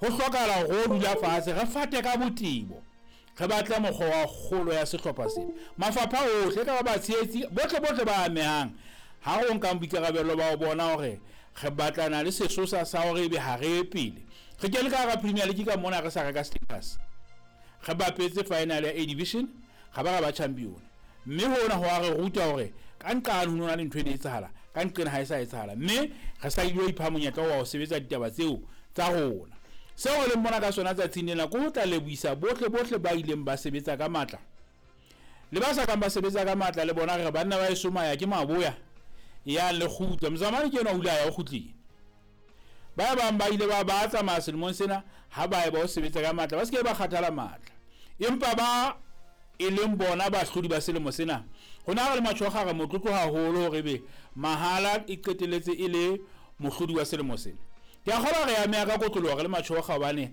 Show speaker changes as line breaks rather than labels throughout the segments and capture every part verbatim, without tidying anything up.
Ho hlokahala hore o dula fatshe re fate ka botebo, re batle mokgwa wa kgolo ya sehlopha sena. Mafapha ohle ka ba batshehetsi bohle bohle ba amehang, ha re o nkang boikarabelo ba ho bona hore re batlana le sesosa sa hore ebe ha re ye pele. Re kene ka hara Premier League ka mona re sa reka status, re bapetse final ya A Division, ra ba ra ba champion. Mme hona ho a re ruta hore ka nqane ho nona le ntho e ne etsahala, ka nqena ha e sa etsahala, mme re sa ile ipha monyetla wa ho sebetsa ditaba tseo tsa rona. Seo re leng mona ka sona tsatsing lena ke ho tla lebohisa bohle bohle ba ileng ba sebetsa ka matla le ba sa kang ba sebetsa ka matla. Le bona re banna ba eso maya ke maboya ya le kgutla mozamane ke enwa o ile a ya o kgutlile. Ba bang ba ile ba ba tsamaya selemong sena ha ba e ba o sebetsa ka matla, ba se ke ba kgathala matla, empa ba e leng bona bahlodi ba selemo sena. Rona re le Matjhokga re motlotlo haholo hore ebe Mahala e qetelletse e le mohlodi wa selemo sena. Ke a kgolwa re ameha ka kotloloho re le Matjhokga, hobane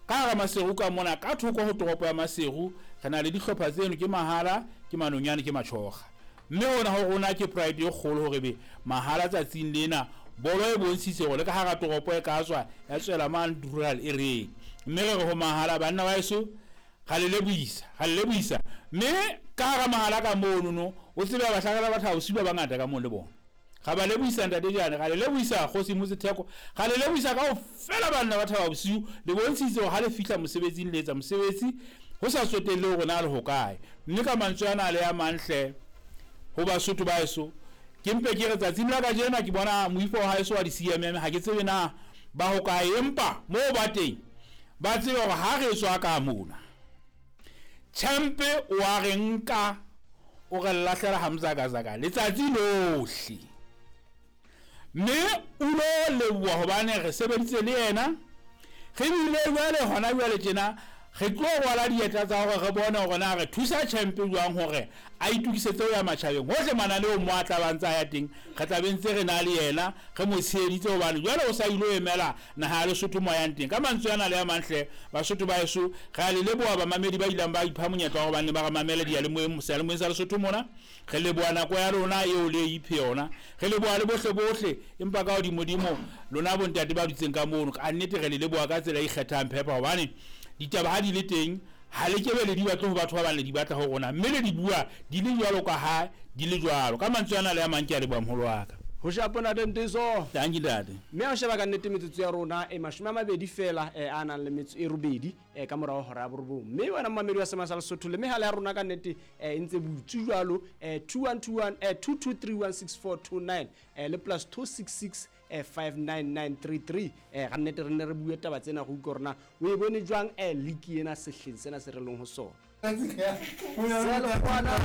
ka hara Maseru ka mona ka thoko ho toropo ya Maseru re na le dihlopha tseno, ke Mahala, ke Manonyane, ke Matjhokga. Mme hona ho rona ke pride e kgolo hore ebe Mahala tsatsing lena bolo e bontshitse hore le ka hara toropo e ka tswa ya tswela mane rural e reng. Mme re re ho Mahala, banna ba heso, ra le lebohisa, ra le lebohisa. Mme ka hara Mahala ka mono no o tsebe bahlakela batho ha bosiu ba bangata ka moo le bona. Ra ba lebohisa ntate Jane, ra le lebohisa Kgosi Motsetheko, ra le lebohisa kaofela banna ba Thaba Bosiu. Le bontshitse hore ha le fihla mosebetsing le etsa mosebetsi ho sa tsotelle hore na le hokae. Mme ka mantswe ana le a mantle ho Basotho ba heso, ke mpe ke re tsatsing la kajeno ke bona moifo wa haeso wa di-C M M, ha ke tsebe na ba hokae, empa moo ba teng ba tsebe hore ha re tswa ka mona Champe o a re nka o re lahlela hamzakazaka letsatsi lohle. Mme o lo leboha hobane re sebeditse le yena, re bile jwale hona jwale tjena re tlo rwala dieta tsa hore re bone hore na re thusa Champe jwang hore a itokisetse ho ya matjhabeng. Hohle mananeong mo a tla ba ntse a ya teng, re tla be ntse re na le yena, re mo tsheheditse hobane jwale o sa ilo emela naha ya Lesotho mo a yang teng. Ka mantswe ana le a mantle, Basotho ba heso, re a le leboha bamamedi ba ileng ba ipha monyetla wa hore ba nne ba re mamele diyalemoyeng, seyalemoyeng sa Lesotho mona. Re leboha nako ya lona eo le e iphe yona, re leboha le bohle bohle, empa ka hodimodimo lona bontate ba dutseng ka mono, ka nnete re le leboha ka tsela e ikgethang phepa, hobane ditaba ha di le teng ha le kebe le di batle ho batho ba bang, le di batla ho rona, mme le di bua di le jwalo ka ha di le jwalo. Ka mantswe ana le a mang, ke a leboha moholo wa ka.
Ho shapa ntate Nteso.
Thank you ntate.
Mme ha o sheba ka nnete metsotso ya rona e mashome a mabedi fela, eh, a nang le metso e robedi, eh, ka morao hora ya borobong. Mme wena momamedi wa Sema sa Lesotho le mehala ya rona ka nnete, eh, e ntse butsu jwalo, eh, two one two one, eh, two two three one six four two nine, eh, le plus two six six, eh, five nine nine three three. Eh, ka nnete re nne re bue taba tsena go utlwa hore na o e bone jwang, eh, league ena sehleng sena se re leng ho sona. Selekgwana.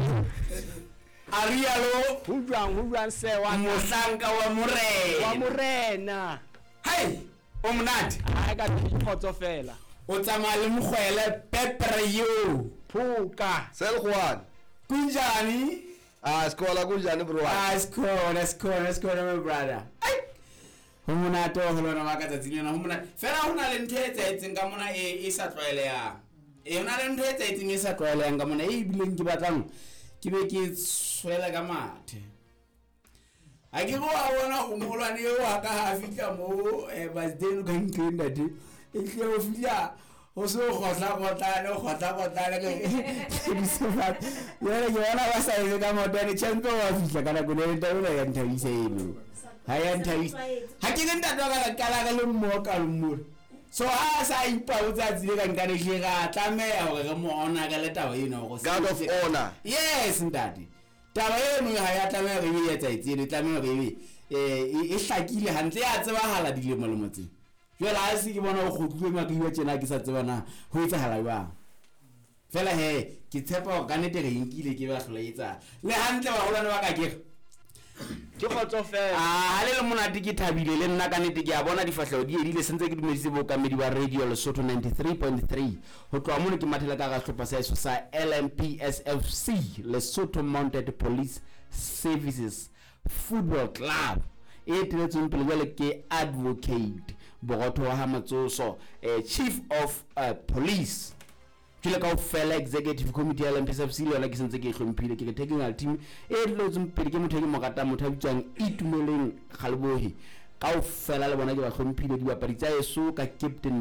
A rialo.
Ho jwang, ho jwang se wa ka?
Mohlanka wa morena.
Wa morena.
Hai, o monate.
Ha ka kgotso fela.
O tsamaya le mokgwele pepere yo.
Phoka.
Selekgwana.
Kunjani?
Ah, sikhona kunjani bro?
Ah, sikhona, sikhona, sikhona my brother. Ai. Ho monate ho lona ba ka tsatsing lena, ho monate. Fela ho na le ntho e etsahetseng ka mona e, e sa tlwaelehang. E, ho na le ntho e etsahetseng e sa tlwaelehang ka mona e bileng ke batlang ke be ke tshwela ka mathe. Ha ke re wa bona o moholwane eo wa ka ha fihla moo, eh, Basdale ka ntlong ntate. E tle o fihla ho se o kgotla-kgotlane, o kgotla-kgotlane ke di se fatshe. Jwale ke bona ba sa etse ka maotwane, Champe wa fihla ka nako le ntate ona ya nthabisa eno. Ha ya nthabisa. Ha ke re ntate wa ka la qala re le mmoho ka mona. So ha a sa ipabotsa a tsile ka nkane hle ra tlameha hore re mo honor ka le taba eno hore
Guard of
se-
honor.
Yes ntate. Taba eno ha ya tlameha hore ebe e etsahetse eno, e tlameha hore ebe, eh, e, e hlakile hantle, ya tsebahala dilemo-lemo tse. Jwale ha se ke bona ho kgutluwe Makiwa tjena ke sa tseba na ho etsahala jwang. Fela he, ke tshepa hore ka nnete re nkile ke ba hlola e etsahala. Le hantle baholwane ba ka ke re.
Ke kgotso fela.
Ah, ha le le monate ke thabile le nna ka nnete ke a bona difahleho di edile, se ntse ke dumedise bookamedi ba Radio Lesotho ninety-three point three. Ho tloha mono ke mathela ka hara sehlopha sa heso sa L M P S F C, Lesotho Mounted Police Services Football Club, e eteletsweng pele jwale ke Advocate Borotho wa ha Matsoso, eh, Chief of, eh, Police. Jwale kaofela Executive Committee ya L M P S F C le yona ke sentse ke e hlomphile, ke re technical team e eteletsweng pele ke motho e ke mo ratang, motho a bitswang Itumeleng Kgalebohe. Kaofela le bona ke ba hlomphile, dibapadi tsa heso ka Captain